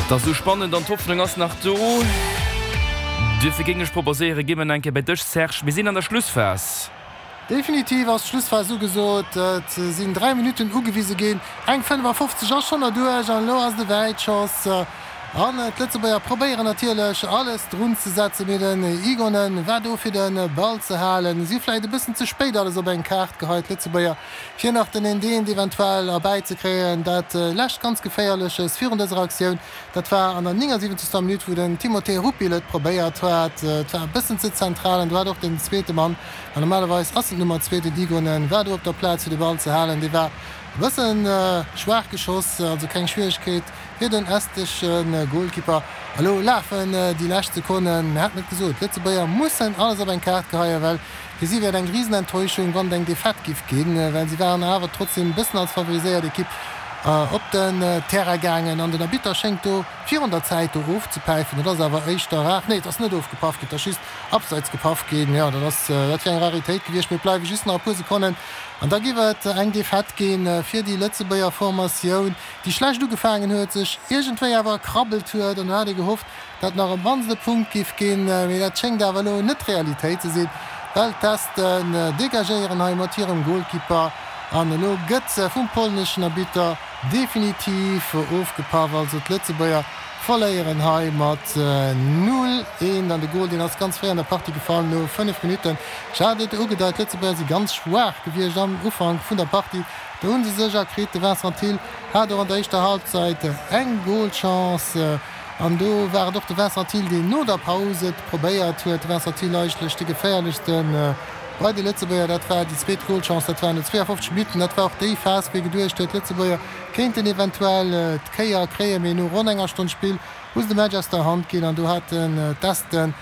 Et ass esou spannend an d'Hoffnung ass nach do. Duerfir géing ech proposéieren, gi mer nach eng Kéier bei dech, Serge. Mir sinn an der Schlussphas. Definitiv ass d'Schlussphas ugesot. Et sinn 3 Minutten ugewise ginn. Eng 55 ass schonn erduerch an elo ass et e Wäitschoss. An d'Lëtzebuerger probéieren natierlech alles drun ze setzen, mee den Igonen war do fir de Ball ze halen. Si hu vläicht e bëssen ze spéit alles op eng Kaart geheit, d'Lëtzebuerger, fir nach den Eent eventuell erbäizekréien. Dat lescht ganz Geféierleches virun dëser Aktioun, dat war an der 79. Minutt, wou den Timothé Rupil et probéiert hat. Et war e bëssen ze zentral an do hat och den zweete Mann, an normalerweis ass en d'Nummer zwee, den Igonen, war do op der Plaz fir de Ball ze halen. Dee war e bësse schwaach geschoss, also keng Schwieregkeet. Fir den estesche Golkipper. Elo lafen déi lescht Sekonnen. Mir haten et gesot, d'Lëtzebuerger mussen alles op eng Kaart geheien, well fir si wär et eng Risenenttäuschung, wann et eng Defaite giff ginn, well si waren awer trotzdem e bëssen als favoriséiert Ekipp op den Terrain gaangen. An den Arbitter schéngt do virun der Zäit do ofzepäifen. Dat ass awer éischter rar. Nee, et ass net ofgepaff ginn, et ass just Abseits gepaff ginn. Jo, dat ass, dat wär eng Raritéit gewiescht. Mee et bleiwe just nach e puer Sekonnen an da giff et eng Defaite gi fir déi Lëtzebuerger Formatioun. déi schlecht ugefaangen huet, sech iergendwéi awer erkrabbelt huet an do hat ee gehofft, datt nach op d'mannst e Punkt giff ginn, mee dat schéngt awer elo net d'Realitéit ze sinn, well d'Esten degagéieren hei mat hirem Golkipper an elo gëtt vum polneschen Arbitter definitiv ofgepaff. Also d'Lëtzebuerger verléieren hei mat 0, 1 an de Gol deen ass ganz fréi an der Partie gefall, no 5 Minutten. Ech hat et ugedeit, d'Lëtzebuerger si ganz schwaach gewiescht am Ufank vun der Partie. Do hunn se sech erkritt. De Vincent Thill hat och an der éischter Halbzeit eng Golchance an do war et och de Vincent Thill, deen no der Paus et probéiert huet. De Vincent Thill eigentlech de geféierlechste bei de Lëtzebuerger. Dat war déi zweet Golchance, dat war no 52 Minutten. Dat war och déi Phas, wou ee geduecht huet, d'Lëtzebuerger kéinten eventuell d'Kéier kréien. Mee no ronn enger Stonn Spill hu se de Match aus der Hand ginn an do haten d'Esten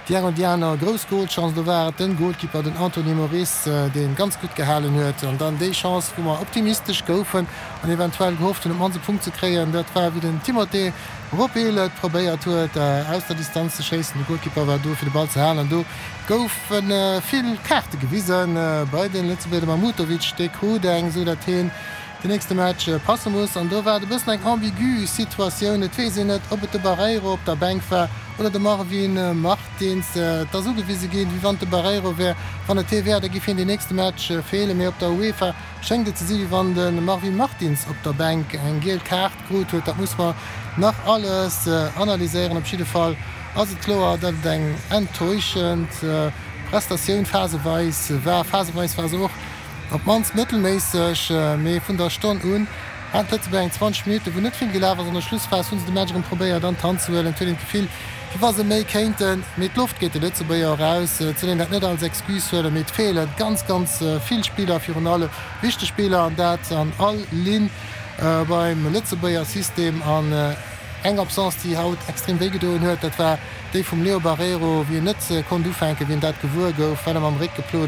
Déi eng an déi aner grouss Golchance, do war et den Golkipper, den Anthony Moris, deen ganz gutt gehalen huet. An dann déi Chance, wou mer optimistesch goufen an eventuell gehofft hunn, op d'mannst e Punkt ze kréien, dat war wéi den Timothé Ropil et probéiert huet, aus der Distanz ze schéissen. De Golkipper war do, fir de Ball ze halen an do goufe vill Kaarte gewisen bei den Lëtzebuerger. De Mahmutovic, dee krut eng, esou dat hien den nächste Match passe muss. An do war et e bëssen eng ambigu Situatioun. Et weess een net, ob et de Barreiro op der Bänk war oder de Marvin Martins. Et ass ugewise ginn, wéi wann et de Barreiro wär. Wann et hie wär, da giff hien den nächste Match feelen. Mee op der UEFA schéngt et ze si wéi wann de Marvin Martins op der Bänk eng giel Kaart krut huet. Dat muss mer nach alles analyséieren. Op jidde Fall ass et kloer, datt et eng enttäuschend Prestatioun phaseweis war. Phaseweis war se och Op d'mannst mëttelméisseg, mee vun der Stonn un haten d'Lëtzebuerger eng 20 Minutten, wou net vill gelaf ass. An der Schlussphas hu se de Match erëm probéiert an d'Hand ze huelen. Et huet een d'Gefill, wéi wa se méi kéinten, mee d'Loft geet de Lëtzebuerger och aus. Et soll een dat net als Excuse huelen, mee et feele ganz, ganz vill Spiller, virun allem wichteg Spiller, an dat an all Linn beim Lëtzebuerger System. An eng Absence, déi haut extrem wéi gedoen huet, dat war déi vum Leo Barreiro, wéi en net konnt ufänken, wéi en dat gewuer gouf, well e mam Réck geplot.